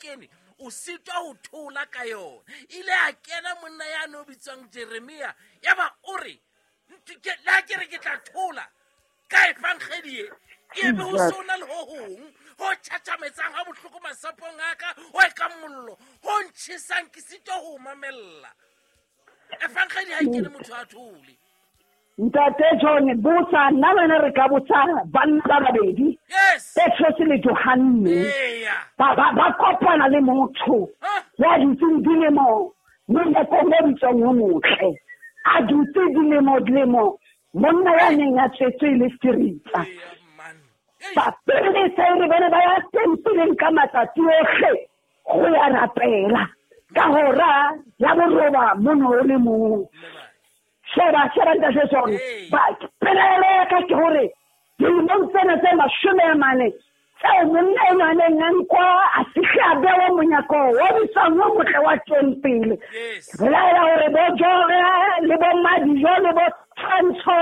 kene o sitwa ho thola ka yona. Ile a kena monna ya no bitswang Jeremia, ya ba o re le ha ke re ke tla thola ka efangedi e, ke be ho sona le ho hong ho tjhatjhametsang ha bohloko masapong a ka, ho e ka mollo ho ntjhesang, ke sitwa ho mamella. Efangedi ha e kene motho a thole. Ntate John, botsa nna le wena re ka botsa banna ba babedi, Petrose le Johanne, ba kopana le motho ya dutseng dilemo monyakong o bitswang o motle, a dutse dilemo dilemo, monna ya neng a tswetswe le seritsa. Ba pele sa ere ba ne ba ya tempeleng ka matsatsi ohle go ya rapela ka hora ya boroba mono o le mong. Sheba, sheba ntate John, ba pelaelo ya ka ke hore dilemong tsena tse 40 tseo monna enwa a neng a nkwa a fihle a bewa monyako wa bitswang o motle wa tempele. Belaela hore bo Jore le bo Madijo le bo Tshwantsho,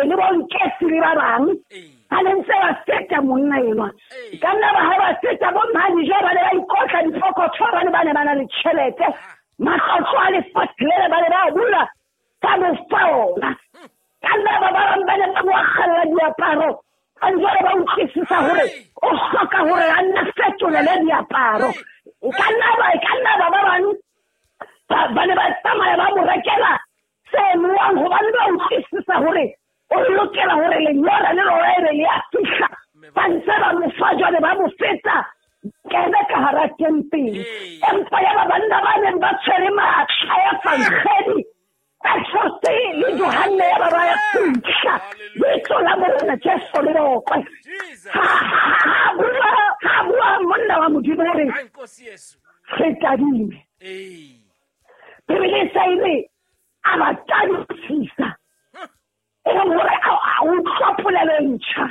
le bo Nketsi le ba bang ba ne ntse ba feta monna enwa. Ka nna ba ha ba feta bo Madijo ba ne ba ikotla dipokotho, ba ne ba ne ba na le tjhelete, matlotlo a lefatshe lena ba ne ba bula ka mo fa ona. Ka nna ba bang ba ne ba mo akgella diaparo, ba jwale ba utlwisisa hore o hloka hore a nne fetolele diaparo. Ka nna ba ba bang ba ne ba tsamaya ba mo rekela se nowang, hobane ba utlwisisa hore o lokela hore lenyora le lona e be le a fihla. Ba ntse ba mo fa jwale ba mo feta kene ka hara tempele. Empa ya ba banna ba neng ba tshwere matla ya efangedi, Petrose le Johanne ya ba ba ya fihla leihlo la Morena Jesu le bokwe. Ha bua monna wa Modimo hore re tadime. Bibele e sa e re a ba tadisisa, e leng hore a utlwa polelo e ntjha.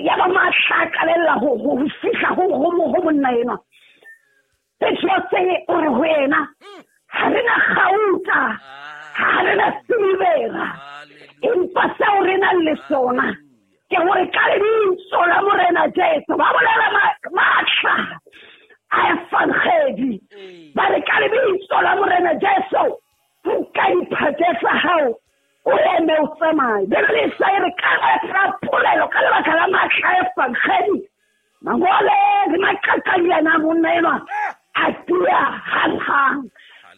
Ya ba matla a qalella ho fihla ho monna enwa. Petrose o re ho yena, ha re na kgauta, ha re na silivera, empa seo re nang le sona ke hore ka lebitso la Morena Jesu, ba bolela matla a efangedi, ba re ka lebitso la Morena Jesu, nka diphate tsa hao, o eme o tsamaye. Bibele e sa e re ka lebaka la polelo, ka lebaka la matla a efangedi, mangole le maqaqadiana a monna enwa a tia hanghang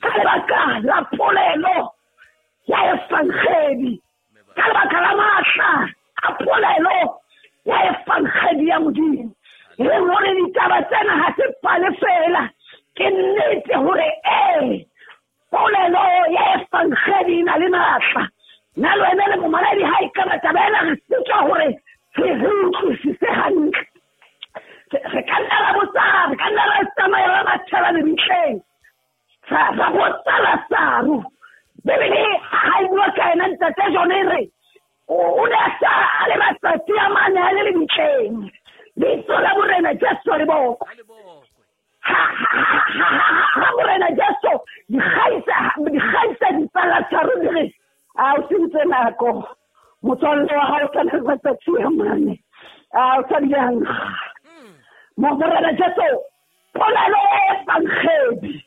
ka lebaka la polelo ya efangedi, ka lebaka la matla a polelo ya efangedi ya Modimo. E leng hore ditaba tsena ha se pale fela, ke nnete hore polelo ya efangedi e na le matla. Nna le wena le momaledi ha e ka ba taba ena re sitwa hore re utlwisise hantle. Re ka nna ra botsa, re ka nna ra tsamaya ra mathela lebitleng, ra botsa Lasaro. Bibele ha e bua ka yena ntate John e re o ne a sa a le matsatsi a mane a le lebitleng. Lebitso la Morena Jesu le bokwe. Ha Morena Jesu dikgaitsedi tsa Lasaro di re, a o sentse nako, motswalle wa hao o sa na le matsatsi a mane, a o sa bile a nkga. Morena Jesu, polelo ya efangedi,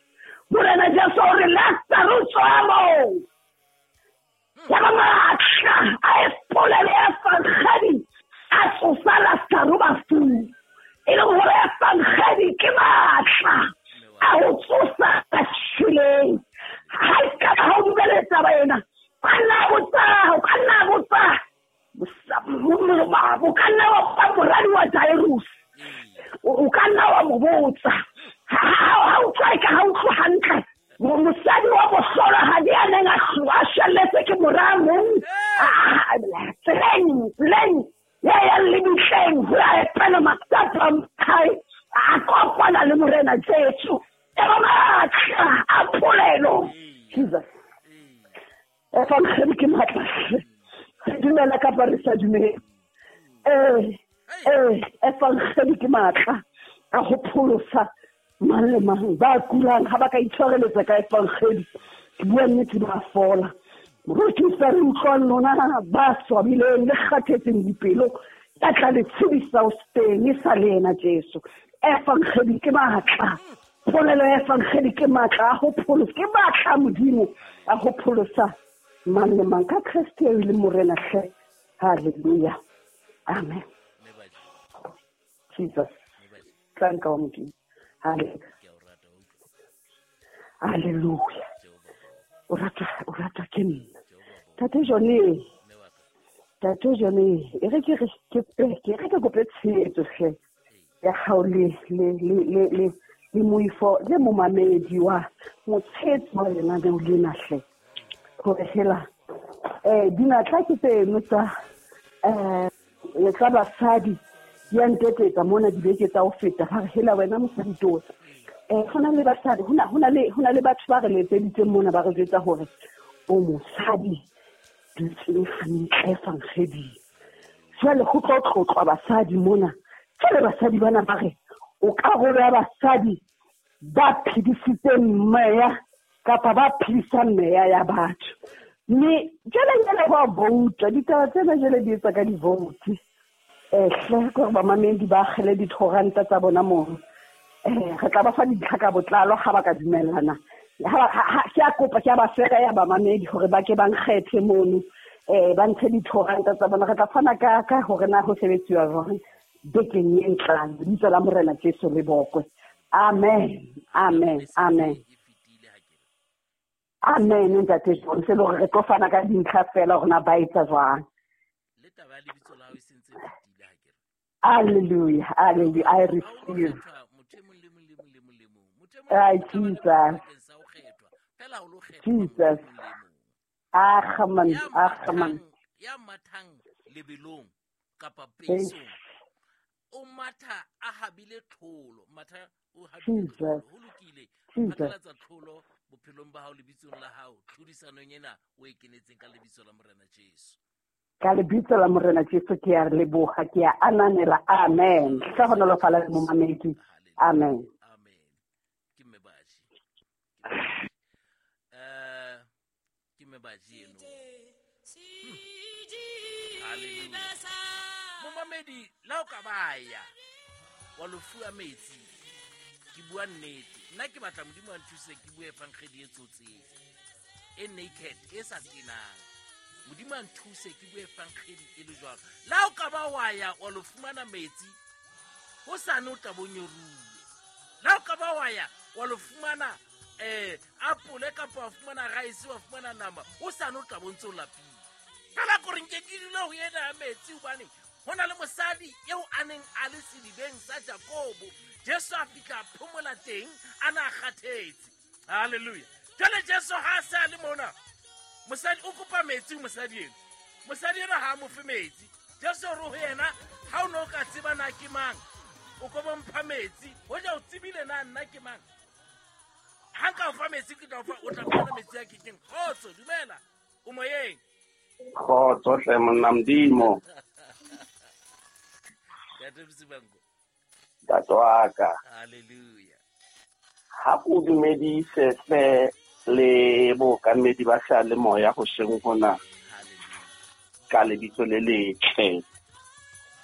Morena Jesu o re Lasaro tswa moo. Ya ba matla a polelo ya efangedi a tsosa Lasaro bafung. E leng hore efangedi ke matla a ho tsosa ba shweleng. Ha e ka ba ha o dumele taba ena, o ka nna botsa, o ka nna botsa, o ka nna wa ba moradi wa Jairus, o ka nna wa mo botsa. Ha utlwa e ka ha utlwe hantle, mosadi wa mohlolohadi a neng a shwelletswe ke mora mong, tseleng ya yang lebitleng ho ya epela masapo a hae, a kopana le Morena Jesu. E ba matla a polelo. Jesus. Efangedi ke matla. Re dumela kapa re sa dumele. Efangedi ke matla a ho pholosa mang le mang ba kulang. Ha ba ka itshwareletsa ka efangedi, ke bua nnete, ba fola. Moruti sa re utlwang lona ba swabileng le kgathetseng dipelo, ka tla le tshedisa o teng e sa le yena Jesu. Evangeli ke matla. Polelo ya evangeli ke matla a ho pholosa, ke matla a Modimo a ho pholosa mang le mang ka Kreste eo e leng Morena hle. Hallelujah. Amen. Jesus. Tlanka wa Modimo. Hallelujah. Hallelujah. O ratwa ke nna. Tate Johnny. Tate Johnny, e re ke re ke kope tshehetso hle ya hao le le le le le le moifo le momamedi wa motshehetsi wa lenaneo lena hle. Hore hela dinatla ke tseno tsa tsa basadi di a ntetetsa mona dibeke tsa ho feta, ba re hela wena mosadi tota. Hona le basadi, hona le batho ba re letseditseng mona ba re jwetsa hore o mosadi dutseng hantle evangeding. Jwale ho tlo tlotlwa basadi mona. Jwale basadi bana ba re o karolo ya basadi ba phedisitseng meya kapa ba phedisang meya ya batho. Mme jwale jwale ba vouta, ditaba tsena jwale di etsa ka di-vote. Hle ke hore bamamedi ba akgele dithoranta tsa bona mono. Re tla ba fa dintlha ka botlalo ha ba ka dumellana. Ke a kopa, ke a ba fera ya bamamedi hore ba ke ba nkgethe mono. Ba ntshe dithoranta tsa bona. Re tla fana ka hore na ho sebetsiwa jwang bekeng e tlang. Lebitso la Morena Jesu le bokwe. Amen. Amen. Amen. Amen. Ntate John, se le hore re tlo fana ka dintlha fela hore na ba etsa jwang. Le taba ya lebitso la hao e sentse e fetile ha ke re. Hallelujah. Hallelujah. I receive. Ai, Jesus. Jesus. Amen. Amen. Ya mathang lebelong kapa peisong. O matha a habile tlholo, matha o habile tlholo, ho lokile. Phatlalatsa tlholo bophelong ba hao lebitsong la hao, tlhodisanong ena o e kenetseng ka lebitso la Morena Jesu. Ka lebitso la Morena Jesu ke a leboha, ke a ananela. Amen. Hlohonolofala le momamedi. Amen. Amen. Ke mme Baji. Ke mme Baji eno. Hallelujah. Momamedi, la o ka baya wa lo fuwa metsi, ke bua nnete. Nna ke batla Modimo a nthuse ke bue evangeli e tsotseng, e naked, e sa tenang. Modimo a nthuse ke bue evangeli e le jwalo. La o ka ba wa ya wa lo fumana metsi, hosane o tla bo nyoruwe. La o ka ba wa ya wa lo fumana apole kapa wa fumana rice, wa fumana nama, hosane o tla bo ntse o lapile. Fela kore nke ke dula ho ena ya metsi hobane ho na le mosadi eo a neng a le sedibeng sa Jakobo. Jesu a fihla a phomola teng, a na a kgathetse. Hallelujah. Jwale Jesu ha a se a le mona, mosadi o kopa metsi ho mosadi eno. Mosadi eno ha a mo fe metsi. Jesu o re ho yena, ha o ne o ka tseba na ke mang, o ko bo mpha metsi. Hoja o tsebile na nna ke mang. Ha nka o fa metsi, ke tla o fa, o tla fumana metsi a kekeng. Kgotso, dumela. O moyeng. Kgotso hle monna Modimo. Ntate Msibango. Ntate wa ka. Hallelujah. Ha o dumedise hle le bookamedi ba seyalemoya hoseng hona. Ka lebitso le letle,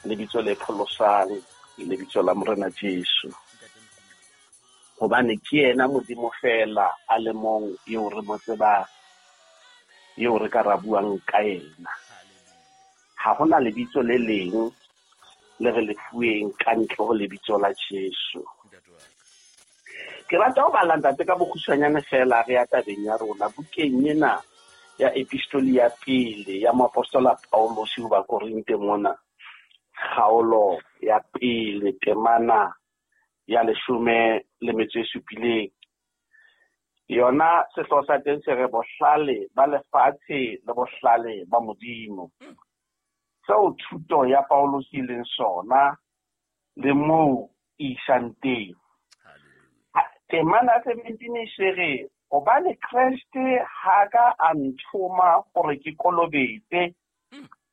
lebitso le pholosang, lebitso la Morena Jesu. Hobane ke yena Modimo fela a le mong eo re mo tsebang, eo re ka ra buang ka yena. Ha hona lebitso le leng le re le fuweng ka ntle ho lebitso la Jesu. Ke rata ho bala ntate ka bokgutshwanyane fela re ya tabeng ya rona bukeng ena ya epistoli ya pele ya moapostola Paulus ho Bakorinte mona, kgaolo ya pele temana ya 17. Yona sehlooho sa teng se re bohlale ba lefatshe le bohlale ba Modimo. Seo thuto ya Paulus e leng sona le moo e isang teng. Temana 17 e se re hobane Kreste ha ka a nthoma hore ke kolobetse,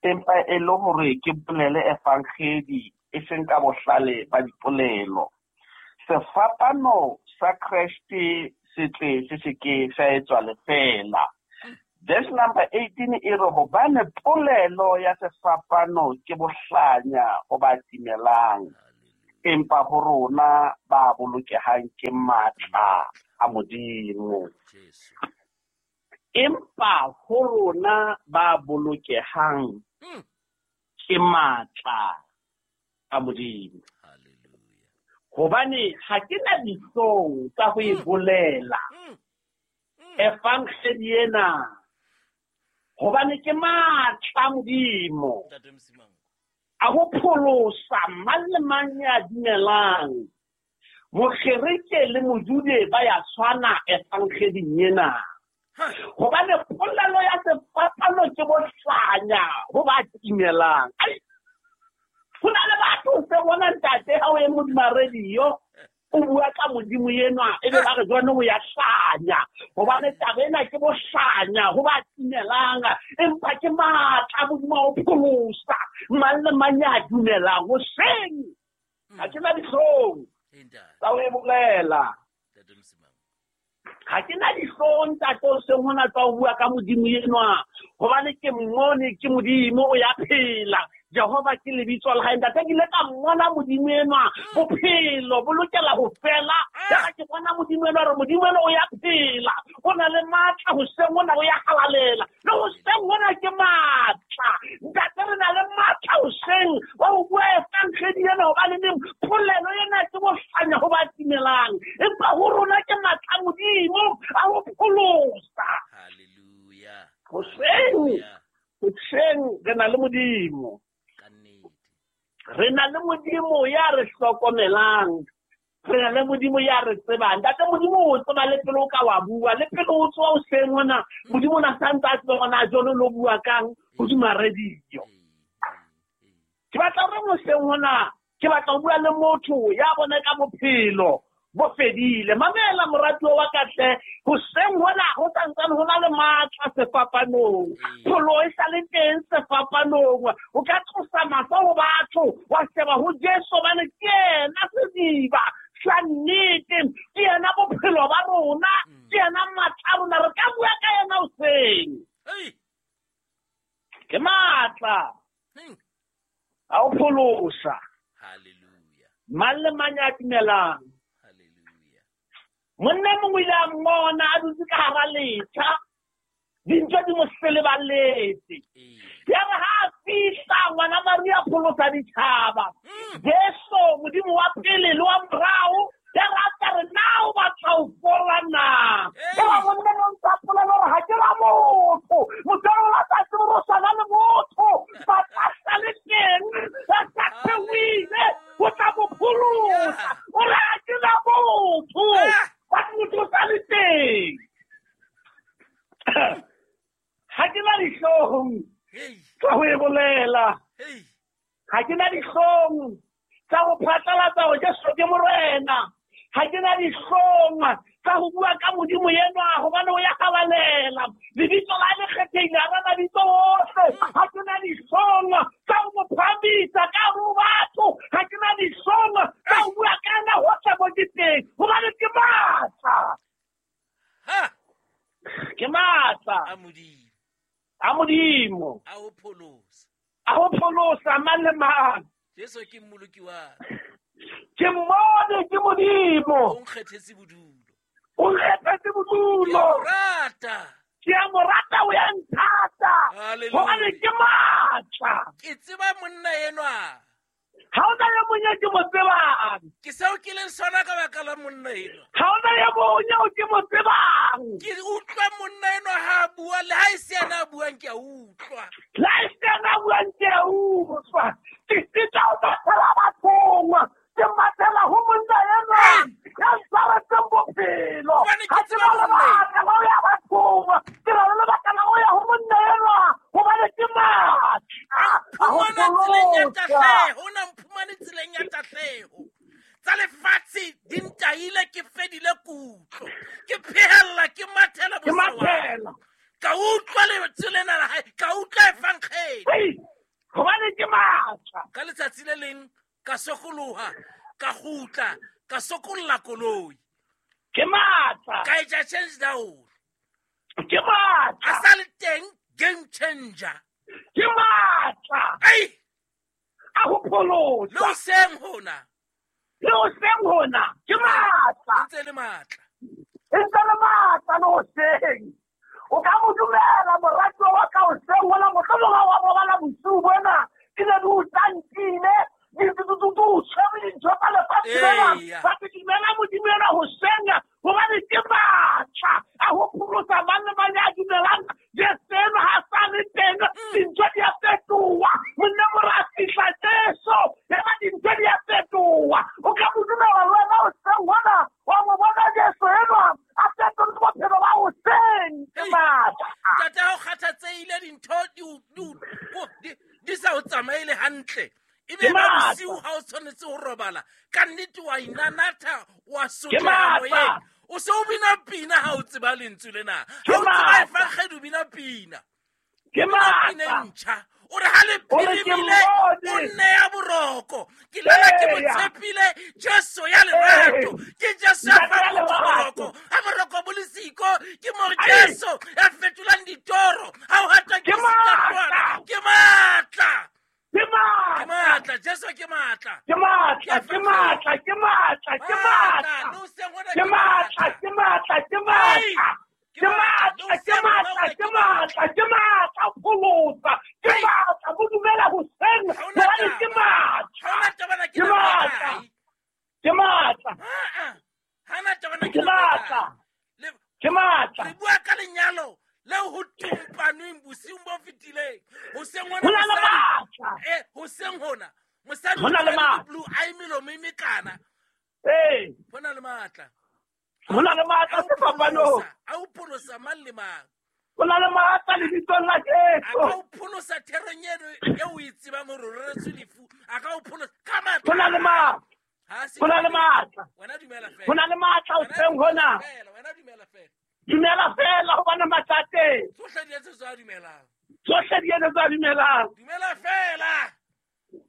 empa e le hore ke bolele evangeli e seng ka bohlale ba dipolelo. Sefapano sa Kreste se tle se se ke sa etswa lefeela. Verse number 18 e re hobane polelo ya sefapano ke bohlanya ho ba timelang, Empa ho rona ba bolokehang ke matla a Modimo. Empa ho rona ba bolokehang ke matla a Modimo. Hobane ha ke na dihlong tsa ho e bolela evangeli ena, hobane ke matla a Modimo a ho pholosa mang le mang ya dumelang. Mogerike le Mojude ba ya tshwana evangeding ena. Hobane polelo ya sefapano ke bohlanya ho ba timelang. Ai, ho na le batho se bona ntate ha o ye modima radio o bua ka Modimo enwa, ebe ba re jwane o ya hlanya. Hobane taba ena ke bohlanya ho ba timelang, empa ke matla a Modimo a ho pholosa mang le mang ya dumelang. Hoseng ha ke na dihlong tsa ho e bolela. Ha ke na dihlong ntate hoseng hona tsa ho bua ka Modimo enwa, hobane ke mmone ke Modimo o ya phela. Jehova ke lebitso la hae. Ntate ke ile ka mmona Modimo enwa, bophelo bo lokela ho fela. Ya ke bona Modimo enwa, re Modimo enwa o ya phela, o na le matla hoseng hona, o ya halalela. Le hoseng hona ke matla. Ntate re na le matla hoseng wa ho bua evangeli ena, hobane neng polelo ena ke bohlanya ho ba timelang, empa ho rona ke matla a Modimo a ho pholosa. Hallelujah. Hoseng, hoseng re na le Modimo. Re na le Modimo ya re hlokomelang. Re na le Modimo ya re tsebang. Ntate Modimo o tseba le pele o ka wa bua, le pele o tsoha hoseng hona, Modimo o na santse a tseba hore na jwale o lo bua kang hodima radio. Ke batla hore hoseng hona, ke batla ho bua le motho ya bona ka bophelo bo fedile. Mamela moratuwa wa ka hle, hoseng hona ho santsane ho na le matla sefapanong. Pholo e sa le teng sefapanong. O ka tlosa mahlo ho batho, wa sheba ho Jesu, hobane ke yena sediba sa nnete, ke yena bophelo ba rona, ke yena matla a rona. Re ka bua ka yena hoseng. Ke matla a ho pholosa. Hallelujah. Mang le mang ya dumelang. Monna mongwe ile a mmona a dutse ka hara letjha, dintho di mo seleballetse. Ya re ha a fihla, ngwana Maria pholosa ditjhaba. Jesu, Modimo wa pele le wa morao, ya re a tla re, na o batla ho fola na? Ya ba monna no ntsa polelo hore ha ke ra motho. Motho o la tsa tsebe hore o tshwana le motho. Ba tla sa le teng, ba sa theohile, o tla mo pholosa. O re ha ke ra motho. Ba motho o sa le teng. Ha ke na dihlong tsa ho e bolela. Ha ke na dihlong tsa ho phatlalatsa hore Jesu ke Morena. Ha ke na dihlong tsa ho bua ka Modimo enwa, hobane o ya halalela. Lebitso la hae le kgethehile hara mabitso ohle. Ha ke na dihlong tsa ho mo phahamisa ka hare ho batho. Ha ke na dihlong tsa ho bua ka yena hohle mo ke teng, hobane ke matla. Ke matla a Modimo. A Modimo. A ho pholosa. A ho pholosa mang le mang. Jesu ke mmoloki wa ka. Ke mmone ke Modimo. O nkgethetse bodulo. O nkgethetse bodulo. Ke a mo rata. Ke a mo rata, o ya nthata. Hallelujah. Hobane ke matla. Ke tseba monna enwa. Ha hona e mong eo ke mo tsebang. Ke seo ke leng sona ka baka la monna enwa. Ha hona e mong eo ke mo tsebang. Ke utlwa monna enwa ha a bua, le ha e se yena a buang ke a utlwa. Le ha e se yena a buang ke a utlwa. Ke sitwa ho mathela bathong. Ke mathela ho monna enwa ya ntshwaretseng bophelo. Hobane ke Ha ke tseba na monna enwa. lebaka la ho ya bathong. Ke na le lebaka la ho ya ho monna enwa, hobane ke matla. A mphumana tseleng ya Pholosa. tahleho, o na mphumane tseleng ya tahleho. Tsa lefatshe di ntahile, ke fedile kutlo. Ke phehella, ke mathela Ke bosawana. mathela. Ka utlwa lentswe lena la hae, ka utlwa evangeli. Hei, hobane ke matla. Ka letsatsi le leng ka sokoloha, ka kgutla, ka sokolla koloi. Ke matla. Ka etsa change down. Ke matla. A sa le teng game changer. Ke matla. Ei! A ho pholosa. Le hoseng hona. Le hoseng hona ke matla. Ntse le matla. Ntse le matla le hoseng. O ka mo dumela moratuwa wa ka hoseng hona, mohlomong ha wa robala bosiu bona, di ne di o tantile, di o tshwere dintho tsa lefatshe lena. Ba te dumela Modimo enwa hoseng, hobane ke matla a ho pholosa mang le mang ya dumelang. Jesu enwa ha sa le teng, dintho di a fetoha. Monna more a fihla Jesu, eba dintho di a fetoha. O ka mo dumela le wena hoseng hona, wa mo bona Jesu enwa a fetole bophelo ba hoseng. Ke matla. Ntate, ha o kgathatsehile dintho di sa o tsamaele hantle, ebe ba bosiu ha o tshwanetse ho robala, ka nnete wa inanatha, wa sotleha moyeng. O se o bina pina ha o tseba lentswe lena. Ha o tseba efankgedi o bina pina. Ke matla. Pina e ntjha. O re ha le phirimile, o nneya boroko. Ke lala ke mo tshepile, Jesu ya lerato. Ke Jesu ya fang motho boroko. Ha boroko bo le siko, ke mo Jesu ya fetolang ditoro. Ha o hata ke sitwa. Ke matla. Ke matla. Ke matla, Jesu ke matla. Ke matla, ke matla, ke matla, ke matla. Ke matla, ke matla, ke matla. Ke matla, ke matla, ke matla, ke matla pholosa. Ke matla bo dumela hoseng, hobane ke matla. Ke matla. Ke matla. Ke matla. Ke matla. Re bua ka lenyalo le ho tumpanweng bosiung bo fetileng. Hoseng hona mosadi, hoseng hona mosadi o na le matla. Blue eye melomo e mekana. Ho na le matla. Ho na le matla sefapanong. A o pholosa mang le mang. Ho na le matla lebitsong la Jesu. A ka o pholosa therong eno eo o e tsebang hore o reretswe lefu. A ka o pholosa ka matla. Ho na le matla. Ho na le matla. Wena dumela fela. Ho na le matla hoseng hona. Wena dumela fela. Dumela fela hobane matla a teng. Tsohle di etsetswa a dumelang. Tsohle di etsetswa a dumelang. Dumela fela.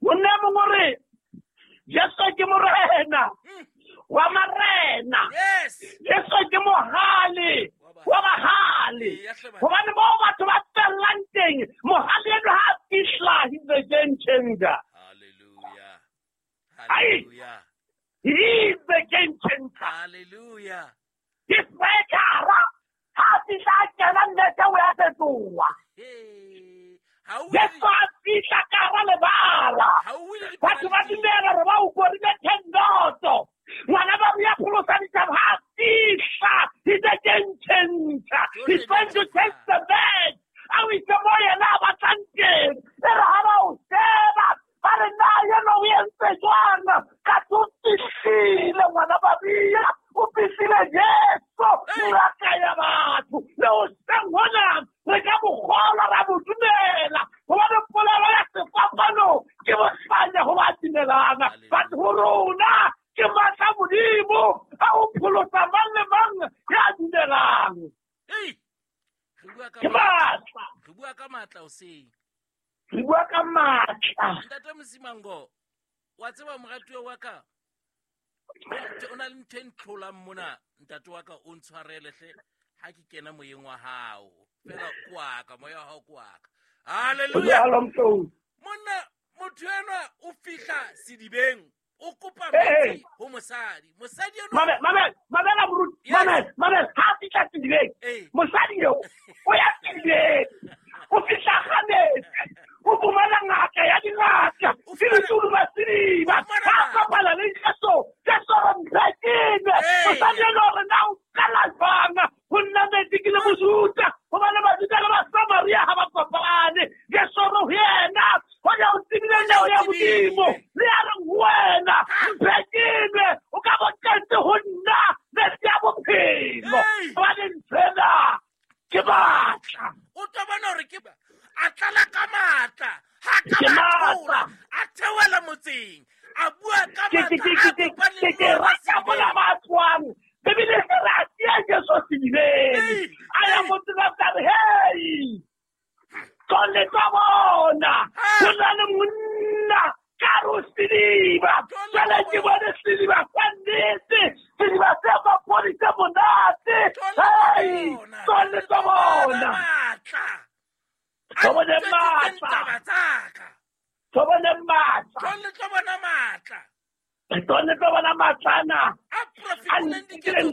Monna e mongwe o re, Jesu ke morena wa marena. Yes. Jesu ke mohale wa bahale. Hobane moo batho ba fellang teng, mohale enwa ha a fihla, he's the game changer. Hallelujah. Hallelujah. He is the game changer. Hallelujah. Ke striker-a, ha a fihla a kena nnete o ya fetoha. Jesu a fihla ka hara lebala. Batho ba dumela hore ba o korile 10-0. Ngwana ba re ya pholosa ditjhaba, ha a fihla, he's a game changer. He's going to change the match. A o itse mo yena a batlang teng. E re ha ba o sheba, ba re na yena o entse jwang? Ka o fihlile ngwana ba bia, o fihlile Jesu, ngaka ya batho. Le hoseng hona re ka mo kgolwa, ra mo dumela. Hobane polelo ya sefapano ke bohlanya ho ba dumelang. But ho rona ke matla Modimo a ho pholosa mang le mang ya dumelang. Ke matla. Re bua ka matla hoseng. Re bua ka matla. Ntate Mosimango, wa tseba moratuwa wa ka, o na le ntho e ntlholang mona, ntate wa ka, o ntshwarele hle ha ke kena moyeng wa hao. Fela ke wa ka, moya wa hao ke wa ka. Hallelujah. Monna, motho enwa o fihla sedibeng, o kopa metsi ho mosadi. Mosadi enwa Mamela moruti, mamela, ha fihla sedibeng. Mosadi eo o ya sedibeng. O fihla ga metsi. O fumana ngaka ya dingaka. Ke ba sediba. Ha kopana le Jesu, Jesu re mphekile. Mosadi enwa o re na o qala jwang ho nna metsi ke le Mojuda? Hobane Bajuda le Basamaria ha ba kopane. Jesu re ho yena, hoja o tsebile neo ya Modimo, le ya reng ho wena, mphekile, o ka bo tletse ho nna metsi a bophelo. Hobane nthwena ke matla. O tlo bona hore ke a tlala ka matla. Ha ka matla, a theohela motseng, a bua ka matla, a kopa le Ke rata mola ba tswang. Bibele e re a tia Jesu sedibeng. A ya motseng a re, hey, tlong le tlo bona, ho na le monna ka re o sediba. Jwale ke bone sediba sa nnete, sediba se mapodi se monate. Hey, tlong le tlo bona. Tlo bone matla. Tlo bone matla. Tlong le tlo bona matla. Re tlo bona matlana A a profetileng ntikileng.